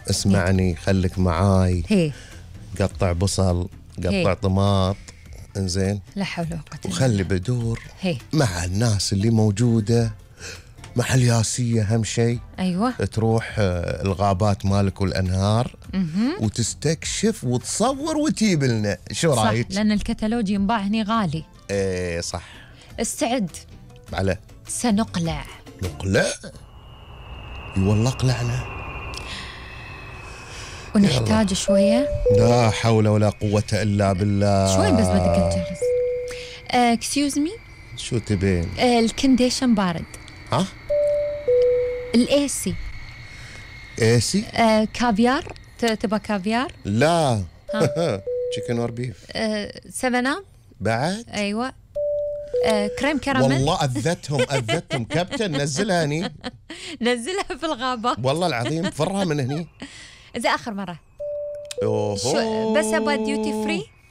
اسمعني خليك معاي. هي قطع بصل، قطع طماط، انزين، لا حول ولا قوة وخلي بدور هي مع الناس اللي موجودة، مع الياسية أهم شيء. أيوة. تروح الغابات مالك والأنهار وتستكشف وتصور وتجيب لنا. شو رايك؟ صح، لأن الكتالوج ينباع هني غالي. ايه صح. استعد. على سنقلع. نقلع؟ والله قلعنا. ونحتاج شوية. لا حول ولا قوة إلا بالله. شوي بس بدك تجهز. اكسكيوز مي. شو تبين؟ الكنديشن بارد. ها؟ الايسي. ايسي؟ كافيار، تبغى كافيار؟ لا. تشيكن اور بيف. 7 بعد؟ ايوه. كريم كراميل. والله أذتهم كابتن، نزلها هني. نزلها في الغابة. والله العظيم فرها من هني. زي آخر مرة. أوه. بس أبغى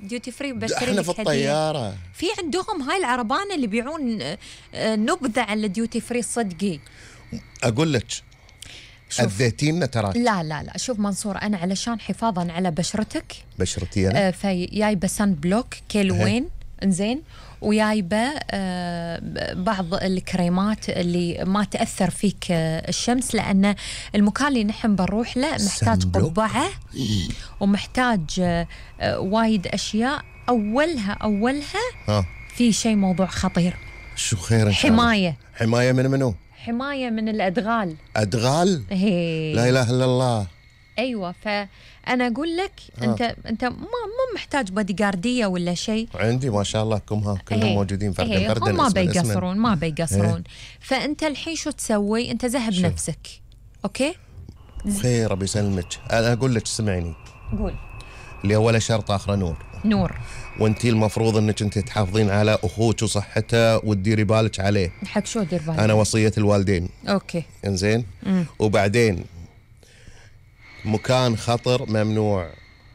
ديوتي فري بشتري احنا في الطيارة. في عندهم هاي العربان اللي بيعون نبذة على الديوتي فري صدقي. أقول لك أذيتينا تراك. لا شوف منصور، أنا علشان حفاظا على بشرتك، بشرتي أنا فجايبة سان بلوك كيلوين، انزين، وجايبة بعض الكريمات اللي ما تأثر فيك الشمس، لأن المكان اللي نحن بنروح له محتاج قبعة ومحتاج وايد أشياء. أولها في شيء موضوع خطير. شو خير إن شاء الله؟ حماية من منو؟ حماية من الأدغال. أدغال؟ لا إله إلا الله. أيوة، فأنا أقول لك أنت ما محتاج بادي جاردية ولا شيء. عندي ما شاء الله كلهم موجودين في الجردن. هم ما بيقصرون. فأنت الحين شو تسوي؟ أنت ذهب نفسك. أوكي؟ خير ربي يسلمك. أنا أقول لك اسمعيني. قول. اللي أول شرط آخر نور. وانتي المفروض انك انت تحافظين على اخوك وصحته وتديري بالك عليه. حق شو دير بالك؟ انا وصية الوالدين. اوكي. انزين. وبعدين مكان خطر ممنوع،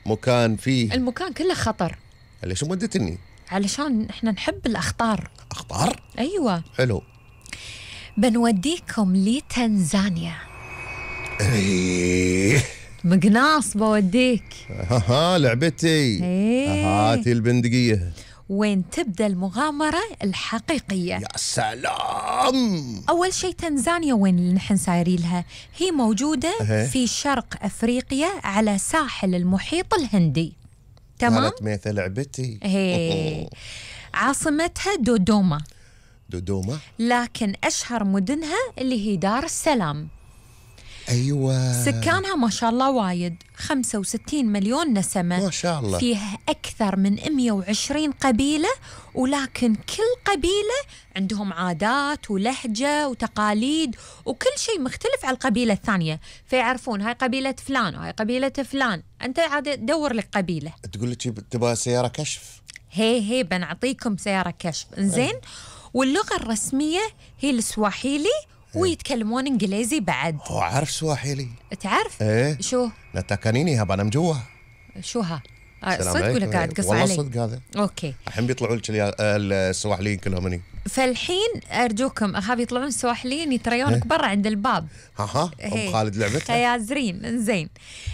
مكان فيه المكان كله خطر. ليش مودتني؟ علشان احنا نحب الاخطار. اخطار؟ ايوه. حلو. بنوديكم لتنزانيا. ايه مقناص بوديك. لعبتي. هاتي البندقية. وين تبدأ المغامرة الحقيقية. يا سلام. أول شيء تنزانيا وين اللي نحن سايرين لها؟ هي موجودة في شرق أفريقيا على ساحل المحيط الهندي. تمام؟ قالت ميثة لعبتي. عاصمتها دودوما. لكن أشهر مدنها اللي هي دار السلام. أيوة. سكانها ما شاء الله وايد، 65 مليون نسمة. ما شاء الله. فيها أكثر من 120 قبيلة، ولكن كل قبيلة عندهم عادات ولهجة وتقاليد وكل شيء مختلف على القبيلة الثانية، فيعرفون هاي قبيلة فلان وهاي قبيلة فلان. أنت عاد دور لك قبيلة. تقول لك تبغى سيارة كشف؟ هي بنعطيكم سيارة كشف. إنزين. واللغة الرسمية هي السواحيلي، ويتكلمون انجليزي بعد. هو عارف سواحيلي؟ تعرف؟ ايه. شو؟ نتاكانيني هبا انا مجوا. شو ها؟ صدق ولا قاعد تقص علي؟ والله صدق هذا. اوكي. الحين بيطلعوا لك السواحليين كلهم هني. فالحين ارجوكم اخاف يطلعون السواحليين يتريونك برا عند الباب. ام خالد لعبتها. خيازرين. انزين،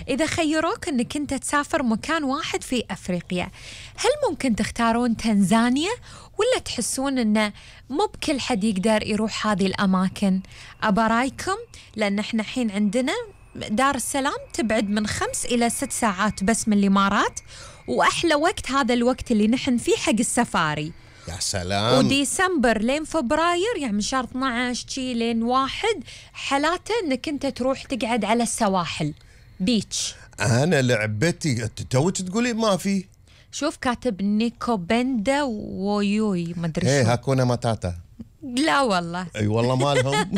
اذا خيروك انك انت تسافر مكان واحد في افريقيا، هل ممكن تختارون تنزانيا ولا تحسون انه مو بكل حد يقدر يروح هذه الاماكن؟ ابرايكم، لان احنا الحين عندنا دار السلام تبعد من 5 إلى 6 ساعات بس من الامارات، واحلى وقت هذا الوقت اللي نحن فيه حق السفاري. يا سلام. وديسمبر لين فبراير، يعني من شهر 12 شي لين 1 حالاته انك انت تروح تقعد على السواحل بيتش. انا لعبتي توك تقولي ما في. شوف كاتب نيكو بندا ويوي ما ادري شو. هاكونا ماتاتا. لا والله. اي والله مالهم.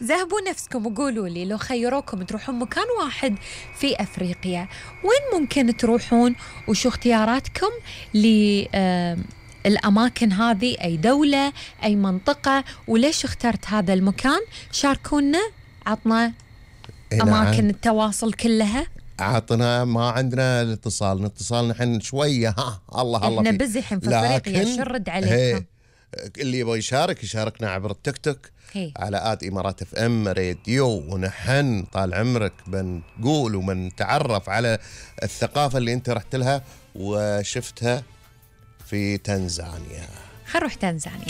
ذهبوا نفسكم وقولوا لي، لو خيروكم تروحون مكان واحد في أفريقيا وين ممكن تروحون، وشو اختياراتكم للأماكن هذه؟ أي دولة، أي منطقة، وليش اخترت هذا المكان؟ شاركونا، عطنا أماكن التواصل كلها. عطنا، ما عندنا الاتصال، نحن شوية الله احنا بزي حين في افريقيا، شو نرد عليكم؟ اللي يبغى يشاركنا عبر التيك توك على @إمارات FM راديو، ونحن طال عمرك بنقول وبنتعرف على الثقافة اللي انت رحت لها وشفتها في تنزانيا. خل نروح تنزانيا.